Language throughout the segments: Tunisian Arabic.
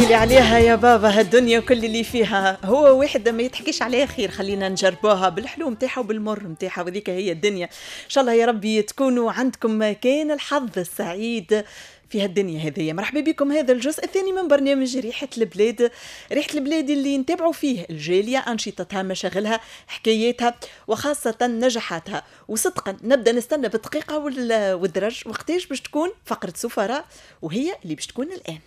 تحكي لي عليها يا بابا هالدنيا وكل اللي فيها، هو واحد ما يتحكيش عليها خير، خلينا نجربوها بالحلو نتاعها وبالمر نتاعها، وذيك هي الدنيا. ان شاء الله يا ربي تكونوا عندكم كان الحظ السعيد في هالدنيا هذه. مرحبا بكم هذا الجزء الثاني من برنامج ريحة البلاد، ريحة البلاد اللي نتابعوا فيه الجالية، أنشطتها، مشاغلها، حكاياتها، وخاصة نجاحاتها. وصدقا نبدأ نستنى بالدقيقة والدرج وقتاش باش تكون فقرة سفراء، وهي اللي باش تكون الآن.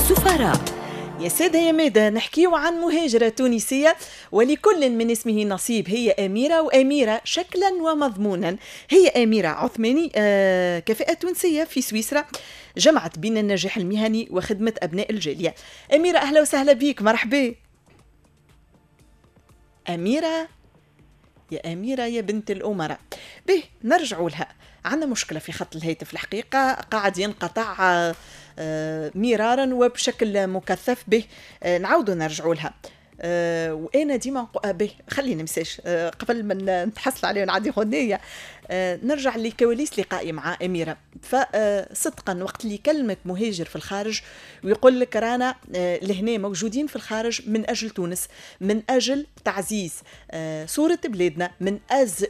سفراء. يا سادة يا مادة، نحكيو عن مهاجرة تونسية ولكل من اسمه نصيب. هي أميرة، وأميرة شكلا ومضمونا. هي أميرة عثماني، كفاءة تونسية في سويسرا، جمعت بين النجاح المهني وخدمة أبناء الجالية. أميرة أهلا وسهلا بيك، مرحبا أميرة. يا أميرة يا بنت الأمراء. به نرجعوا لها، عندنا مشكلة في خط الهاتف الحقيقة، قاعد ينقطع مرارا وبشكل مكثف. به نعاودوا نرجعوا لها. وانا ديما به خلينا نمساش قبل ما نتحصل عليه ونعدي غنية. نرجع لكواليس لقائي مع اميره. فصدقا وقت اللي كلمك مهاجر في الخارج ويقول لك رانا لهنا موجودين في الخارج من اجل تونس، من اجل تعزيز صوره بلادنا،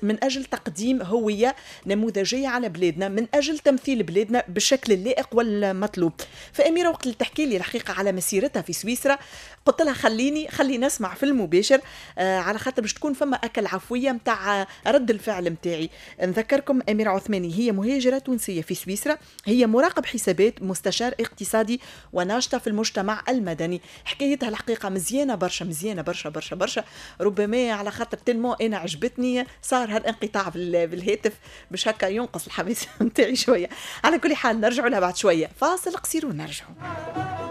من اجل تقديم هوية نموذجيه على بلادنا، من اجل تمثيل بلادنا بالشكل اللائق والمطلوب. فاميره وقت اللي تحكي لي الحقيقة على مسيرتها في سويسرا، قلت لها خليني نسمع في المباشر، على خاطر باش تكون فما اكل عفوية نتاع رد الفعل نتاعي. نذكركم أميرة عثماني هي مهاجرة تونسية في سويسرا، هي مراقب حسابات، مستشار اقتصادي، وناشطة في المجتمع المدني. حكايتها الحقيقة مزيانة برشا، مزيانة برشا برشا برشا، ربما على خاطر tellement أنا عجبتني صار هالانقطاع بالهاتف باش هكا ينقص الحماس نتاعي شوية. على كل حال نرجعوا لها بعد شوية، فاصل قصير ونرجعوا.